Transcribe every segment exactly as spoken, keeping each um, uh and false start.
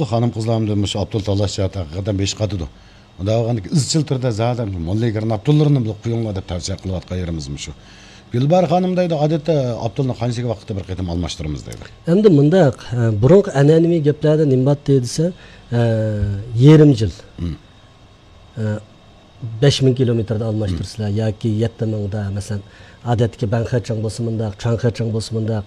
خانىم-قىزلار ئەمدى مۇشۇ ئاپتول تاللاش جەھەتتە ھەقىقەتەن بېشى قاتىدۇ. ئۇنداق بولغاندا ئىزچىل تۈردە زادى مۇشۇ موللىگىرنىڭ ئاپتوللىرىنى بىر قويۇڭلار دەپ تەۋسىيە قىلىۋاتقان يېرىمىز مۇشۇ. گۈلباھار خانىم دەيدۇ، ئادەتتە ئاپتولنى قانچىلىك ۋاقىتتا بىر قېتىم ئالماشتۇرىمىز دەيدۇ. ئەمدى مۇنداق، ئە، بۇرۇنقى ئەنئەنىۋى گەپلەردە نېمە بار دېسە، ئە، يېرىم يىل. مم. ئە، بەش مىڭ كىلومېتىردا ئالماشتۇرسىلەر ياكى يەتتە مىڭدا، مەسىلەن، ئادەتتىكى بەنخېچاڭ بولسا مۇنداق، چۇاڭخېچاڭ بولسا مۇنداق،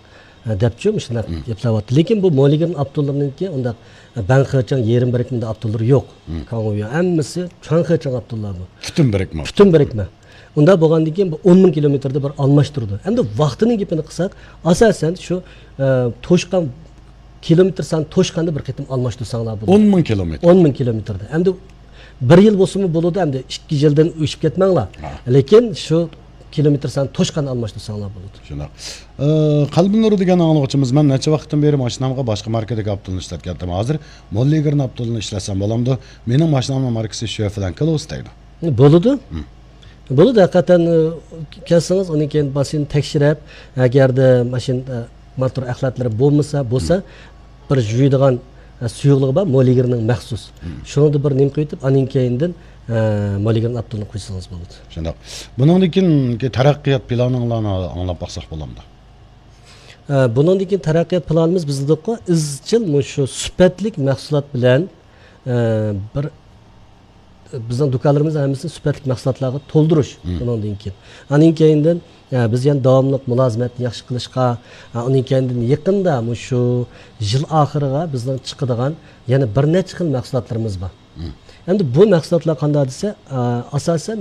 ئە، دەپچۇ مۇشۇنداق مم. گەپلەۋاتىدۇ. لېكىن بۇ موللىگىرنىڭ ئاپتوللىرىنىڭكى ئۇنداق، ئە، بەنخېچاڭ يېرىم بىرىكمىدە ئاپتوللىرى يوق. مم. كاڭۋيۈەن ھەممىسى چۇاڭخېچاڭ ئاپتوللىرى بۇ. پۈتۈن بىرىكمە. پۈتۈن بىرىكمە. ئۇنداق بولغاندىن كېيىن بۇ ئون مىڭ كىلومېتىردا بىر ئالماشتۇرىدۇ. ئەمدى ۋاقتىنىڭ گېپىنى قىلساق، ئاساسەن شۇ، ئە، توشقان، كىلومېتىر سانى توشقاندا بىر قېتىم ئالماشتۇرساڭلار بولىدۇ. ئون مىڭ كىلومېتىر. ئون مىڭ كىلومېتىردا. ئەمدى بىر يىل بولسىمۇ بولىدۇ، ئەمدى ئىككى يىلدىن ئېشىپ كەتمەڭلار. ھا. لېكىن شۇ كىلومېتىر سانى توشقاندا ئالماشتۇرساڭلار بولىدۇ. شۇنداق. ئە، قەلبىنۇر دېگەن ئاڭلىغۇچىمىز، مەن نەچچە ۋاقىتتىن بېرى ماشىنامغا باشقا ماركىدىكى ئاپتولنى ئىشلەتكەنتىم. ھازىر موللىگىرنىڭ ئاپتولىنى ئىشلەتسەم بولامدۇ؟ مېنىڭ ماشىنامنىڭ ماركىسى شۆفلەن كلوس دەيدۇ. بولىدۇ. مم. بولىدۇ، ھەقىقەتەن، ئە، كەلسىڭىز، ئۇنىڭ كېيىن ماشىنىنى تەكشۈرۈپ، ئەگەردە ماشىنا، ئە، موتور ئەخلەتلىرى بولمىسا، بولسا، مم. بىر يۇيىدىغان، ئە، سۇيۇقلۇقى بار، موللىگىرنىڭ مەخسۇس. مم. شۇنىڭدا بىر نېمە قويۇۋېتىپ، ئانىڭ كەينىدىن، ئە، موللىگىرنىڭ ئاپتولىنى قويسىڭىز بولىدۇ. شۇنداق. بۇنىڭدىن كېيىنكى تەرەققىيات پىلانىڭلارنى ئاڭلاپ باقساق بولامدۇ؟ ئە، بۇنىڭدىن كېيىن تەرەققىيات پىلانىمىز، بىز دېدۇققۇ، ئىزچىل مۇشۇ سۈپەتلىك مەھسۇلات بىلەن، ئە، بىر بىزنىڭ دۇكانلىرىمىزنىڭ ھەممىسىنى سۈپەتلىك مەھسۇلاتلارغا تولدۇرۇش مم. بۇنىڭدىن كېيىن. ئانىڭ كەينىدىن، ئە، بىز يەنە داۋاملىق مۇلازىمەتنى ياخشى قىلىشقا، ئە، ئۇنىڭ كەينىدىن يېقىندا مۇشۇ يىل ئاخىرىغا بىزنىڭ چىقىدىغان يەنە بىر نەچچە خىل مەھسۇلاتلىرىمىز بار. مم. ئەمدى بۇ مەھسۇلاتلار قانداق دېسە، ئە، ئاساسەن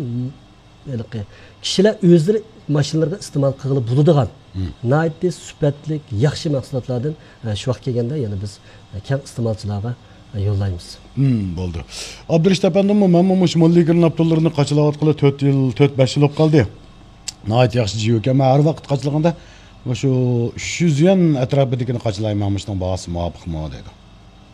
ھېلىقى كىشىلەر ئۆزلىرى ماشىنىلىرىغا ئىستېمال قىلغىلى بولىدىغان مم. ناھايىتى سۈپەتلىك، ياخشى مەھسۇلاتلاردىن، ئە، شۇ ۋاقىت كەلگەندە يەنە بىز، ئە، كەڭ ئىستېمالچىلارغا، ئە، يوللايمىز. مم، بولدى. ئابدۇرېشىت ئەپەندىممۇ، مەنمۇ مۇشۇ موللىگىرنىڭ ئاپتوللىرىنى قاچىلاۋاتقىلى تۆت يىل، تۆت، بەش يىل بولۇپ قالدى. ناھايىتى ياخشى جىيۇكەن. مەن ھەر ۋاقىت قاچىلىغاندا مۇشۇ ئۈچ يۈز يۈەن ئەتراپىدىكىنى قاچىلايمەن، مۇشۇنىڭ باھاسى مۇۋاپىقمۇ دەيدۇ.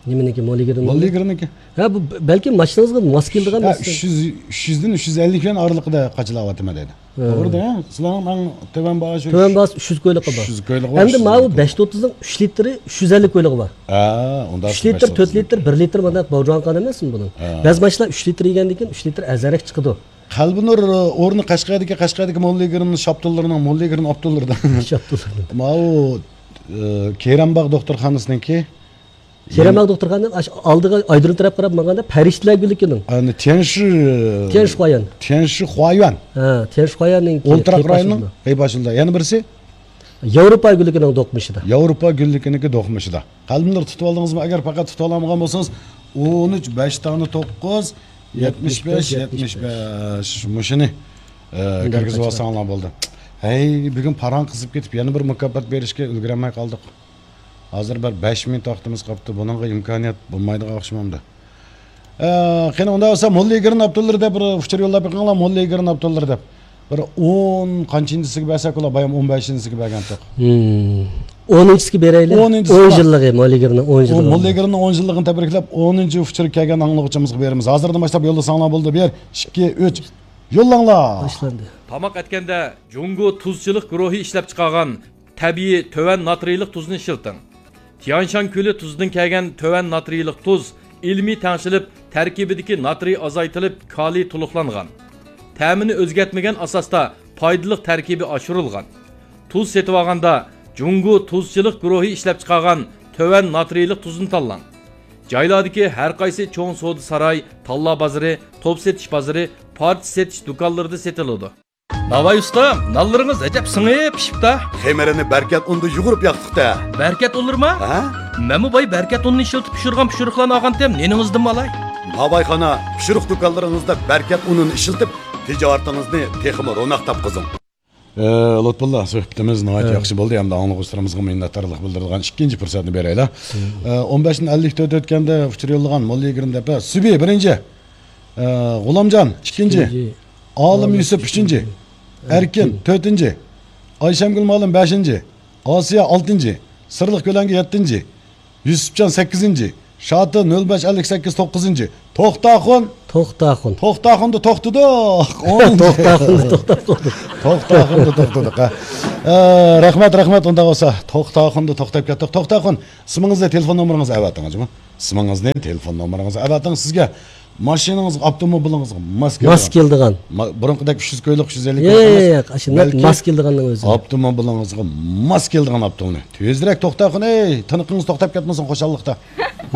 نېمىنىڭكى، موللىگىرنىڭ؟ موللىگىرنىڭكى. ھە، بۇ بەلكىم ماشىنىڭىزغا ماس كېلىدىغان ھە، نەرسە. ئۈچ يۈز، ئۈچ يۈزدىن ئۈچ يۈز ئەللىك يۈەن ئارىلىقىدا قاچىلاۋاتىمەن دەيدۇ. ھە. توغرا دە، سىلەرنىڭ ئەڭ تۆۋەن باھا شۇ. تۆۋەن باھاسى ئۈچ يۈز كويلۇقى بار. ئۈچ يۈز كويلۇقى بار، ئەمدى ماۋۇ بەش يۈز ئوتتۇزنىڭ ئۈچ لىتىرى ئۈچ يۈز ئەللىك كويلۇقى بار. ھە، ئۇنداق ئۈچ لىتىر، تۆت لىتىر، بىر لىتىر مانداق باجۇرغان قان ئەمەسمۇ بۇنىڭ؟ ھە. بەزى ماشىنىلار ئۈچ لىتىر يېگەندىن كېيىن ئۈچ لىتىر ئەرزانراق چىقىدۇ. قەلبىنۇر ئورنى قەشقەردىكى، قەشقەردىكى موللىگىرنىڭ شاپتۇللىرىنىڭ، موللىگىرنىڭ ئاپتوللىرىدا. شاپتۇللىرىدا. ماۋۇ، ئە، كېرەمباغ دوختۇرخانىسىنىڭكى. كېرەمباغ دوختۇرخانىنىڭ ئاش-، ئالدىغا ئايرودروم تەرەپ قاراپ ماڭغاندا پەرىشتىلەر گۈللۈكىنىڭ. ئەنە تيەنشى، تيەنشى خۇايۈەن. ھە، تيەنشى خۇايۈەننىڭكى. ئولتۇراق رايوننىڭ قەيپ ئاشۇلىدا. يەنە بىرسى؟ ياۋروپا گۈللۈكىنىڭ دوقمۇشىدا. ياۋروپا گۈللۈكىنىڭكى دوقمۇشىدا. قەلبىنۇر تۇتۇۋالدىڭىزمۇ؟ ئەگەر پەقەت تۇتۇۋالالمىغان بولسىڭىز، ئون ئۈچ، بەش دانە توققۇز، يەتمىش بەش، يەتمىش بەش. مۇشۇنى، ئە، كىرگۈزۈپ ئالساڭلار بولدى. ھەي، بۈگۈن پاراڭ قىزىپ كېتىپ، يەنە بىر مۇكاپات بېرىشكە ئۈلگۈرەلمەي قالدۇق. ھازىر بىر بەش مىنۇت ۋاقتىمىز قاپتۇ. بۇنىڭغا ئىمكانىيەت بولمايدىغان ئوخشىمامدۇ؟ ئە، قېنى، ئۇنداق بولسا، موللىگىرنىڭ ئاپتوللىرى دەپ بىر ئۇچۇر يوللاپ بېقىڭلار، موللىگىرنىڭ ئاپتوللىرى دەپ. بىر ئون قانچىنچىسىگە بەرسەك بولا، بايام ئون بەشىنچىسىگە بەرگەنتۇق. ھىم. ئونىنچىسىگە بېرەيلى. ئونىنچىسىغا. ئون يىللىقى، موللىگىرنىڭ ئون يىللىقى. موللىگىرنىڭ ئون يىللىقىنى تەبرىكلەپ، ئونىنچى ئۇچۇر كەلگەن ئاڭلىغۇچىمىزغا بېرىمىز. ھازىردىن باشلاپ يوللىساڭلار بولدى. بىر، ئىككى، ئۈچ. يوللاڭلار. باشلاندى. تاماق ئەتكەندە جۇڭگو تۇزچىلىق گۇرۇھى ئىشلەپچىقارغان تەبىئىي تۆۋەن ناترىيلىق تۇزنى ئىشلىتىڭ. تيەنشان كۆلى تۇزىدىن كەلگەن تۆۋەن ناترىيلىق تۇز ئىلمىي تەڭشىلىپ، تەركىبىدىكى ناترىي ئازايتىلىپ، كالىي تولۇقلانغان. تەمىنى ئۆزگەرتمىگەن ئاساستا پايدىلىق تەركىبى ئاشۇرۇلغان. تۇز سېتىۋالغاندا جۇڭگو تۇزچىلىق گۇرۇھى ئىشلەپچىقارغان تۆۋەن ناترىيلىق تۇزنى تاللاڭ. جايلاردىكى ھەر قايسى چوڭ سودا ساراي، تاللا بازىرى، توپ سېتىش بازىرى، پارچە سېتىش دۇكانلىرىدا سېتىلىدۇ. ناۋاي ئۇستا، نانلىرىڭىز ئەجەب سىڭىپ پىشىپتا. خېمىرىنى بەركەت ئۇندا يۇغۇرۇپ ياقتۇق-تە. بەركەت ئۇنلىرىما؟ ھە؟ مەنمۇ باي بەركەت ئۇنىنى ئىشلىتىپ پىشۇرغان پىشۇرۇقلارنى ئالغانتىم، نېنىڭىزدىنمۇ ئالاي؟ ناۋايخانا پىشۇرۇق دۇكانلىرىڭىزدا بەركەت ئۇنىنى ئىشلىتىپ، تىجارىتىڭىزنى تېخىمۇ روناق تاپقۇزۇڭ. ئە، لۇتپۇللا، سۆھبىتىمىز ناھايىتى ياخشى بولدى ھەمدە ئاڭلىغۇچىلىرىمىزغا مىننەتدارلىق بىلدۈرىدىغان ئىككىنچى پۇرسەتنى بېرەيلى. ئە، ئون بەشتىن ئەللىك تۆت ئۆتكەندە ئۇچۇر يوللىغان موللىگىرنى دەپ، سۈبى بىرىنچى، ئە، غۇلامجان ئىككىنچى، ئالىم يۈسۈپ ئۈچىنچى، ئەركىن تۆتىنچى، ئايشەمگۈل مۇئەللىم بەشىنچى، ئاسىيە ئالتىنچى، سىرلىق كۆلەڭگە يەتتىنچى، يۈسۈپجان سەككىزىنچى، شاتى نۆل بەش ئەللىك سەككىز توققۇزىنچى، توختاخۇن. توختاخۇن. توختاخۇندا توختىدۇق. ئونىنچى. توختاخۇندا توختاپ قالدۇق. توختاخۇندا توختىدۇق، ھە. ئە، رەھمەت، رەھمەت، ئۇنداق بولسا. توختاخۇندا توختاپ كەتتۇق. توختاخۇن، ئىسمىڭىزنى، تېلېفون نومۇرىڭىزنى ئەۋەتىڭىز، جۇمۇ. ئىسمىڭىزنى، تېلېفون نومۇرىڭىزنى ئەۋەتىڭ، سىزگە ماشىنىڭىزغا، ئاپتوموبىلىڭىزغا ماس كېلىدىغان. ماس كېلىدىغان. ما-، بۇرۇنقىدەك ئۈچ يۈز كويلۇق، ئۈچ يۈز ئەللىك كويلۇق ئەمەس. ياق، ياق، ئاشۇنداق بەلكى ماس كېلىدىغاننىڭ ئۆزى. ئاپتوموبىلىڭىزغا ماس كېلىدىغان ئاپتوموبىل. تېزرەك توختاقۇن، ئەي، تىنىقىڭىز توختاپ كەتمىسۇن خۇشاللىقتا.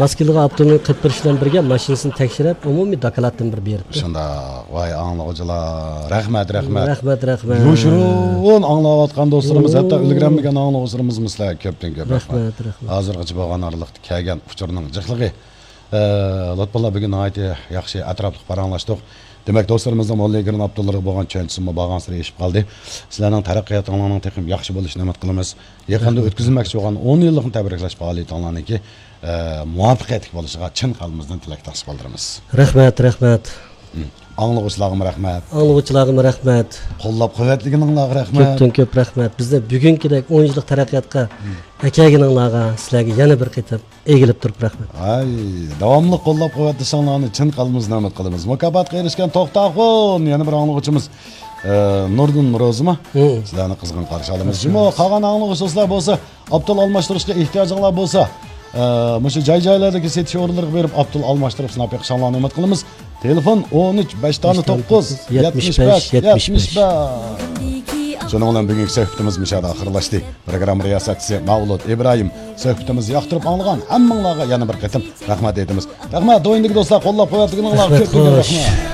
ماس كېلىدىغان ئاپتوموبىل قىلىپ بېرىش بىلەن بىرگە ماشىنىسىنى تەكشۈرۈپ، ئومۇمىي دوكلاتتىن بىر بېرىپتۇ. شۇنداق. ۋاي ئاڭلىغۇچىلار، رەھمەت، رەھمەت. رەھمەت، رەھمەت. يوشۇرۇن ئاڭلاۋاتقان دوستلىرىمىز، ھەتتا ئۇلگىرەلمىگەن ئاڭلىغۇچىلىرىمىزمۇ سىلەرگە كۆپتىن كۆپ رەھمەت. رەھمەت، رەھمەت. ھازىرغىچە بولغان ئارىلىقتا كەلگەن ئۇچۇرنىڭ جىقلىقى. ئە، لۇتپۇللا، بۈگۈن ناھايىتى ياخشى ئەتراپلىق پاراڭلاشتۇق. دېمەك، دوستلىرىمىزنىڭ موللىگرىن ئابدۇللىرىغا بولغان چۈشەنچىسىمۇ بارغانسېرى ئېشىپ قالدى. سىلەرنىڭ تەرەققىياتىڭلارنىڭ تېخىمۇ ياخشى بولۇشىنى ئۈمىد قىلىمىز. يېقىندا ئۆتكۈزۈلمەكچى بولغان ئون يىللىقنى تەبرىكلەش پائالىيىتىڭلارنىڭكى، ئە، مۇۋەپپەقىيەتلىك بولۇشىغا چىن قەلبىمىزدىن تىلەكداشلىق بىلدۈرىمىز. رەھمەت، رەھمەت. ھىم. ئاڭلىغۇچىلارغىمۇ رەھمەت. ئاڭلىغۇچىلارغىمۇ رەھمەت. قوللاپ قۇۋۋەتلىگىنىڭلارغا رەھمەت. كۆپتىن كۆپ رەھمەت. بىزنى بۈگۈنكىدەك ئون يىللىق تەرەققىياتقا ھىم. ئەكەلگىنىڭلارغا سىلەرگە يەنە بىر قېتىم ئېگىلىپ تۇرۇپ رەھمەت. ئاي، داۋاملىق قوللاپ قۇۋۋەتلىشىڭلارنى چىن قەلبىمىزدىن ئۈمىد قىلىمىز. مۇكاپاتقا ئېرىشكەن توختاخۇن، يەنە بىر ئاڭلىغۇچىمىز، ئە، نۇردىن روزىمۇ؟ ھىم. سىلەرنى قىزغىن قارشى ئالىمىز. قارشى جۇمۇ، ئالىمىز. قالغان ئاڭلىغۇچى دوستلار بولسا، ئاپتول ئالماشتۇرۇشقا ئېھتىياجىڭلار بولسا، ئە، مۇشۇ جاي-جايلاردىكى سېتىش ئورۇنلىرىغا بېرىپ، ئاپتول ئالماشتۇرۇپ سىناپ بېقىشىڭلارنى ئۈمىد قىلىمىز. تېلېفون: ئون ئۈچ، بەش دانە توققۇز، يەتمىش بەش، يەتمىش بەش. شۇنىڭ بىلەن بۈگۈنكى سۆھبىتىمىز مۇشۇ يەردە ئاخىرلاشتى. پروگرامما رىياسەتچىسى مەۋلۇت ئىبراھىم. سۆھبىتىمىزنى ياقتۇرۇپ ئاڭلىغان ھەممىڭلارغا يەنە بىر قېتىم رەھمەت ئېيتىمىز. رەھمەت، دويىندىكى دوستلار، قوللاپ قۇۋۋەتلىگىنىڭلارغا رەھمەت، كۆپتىن كۆپ خوش. رەھمەت.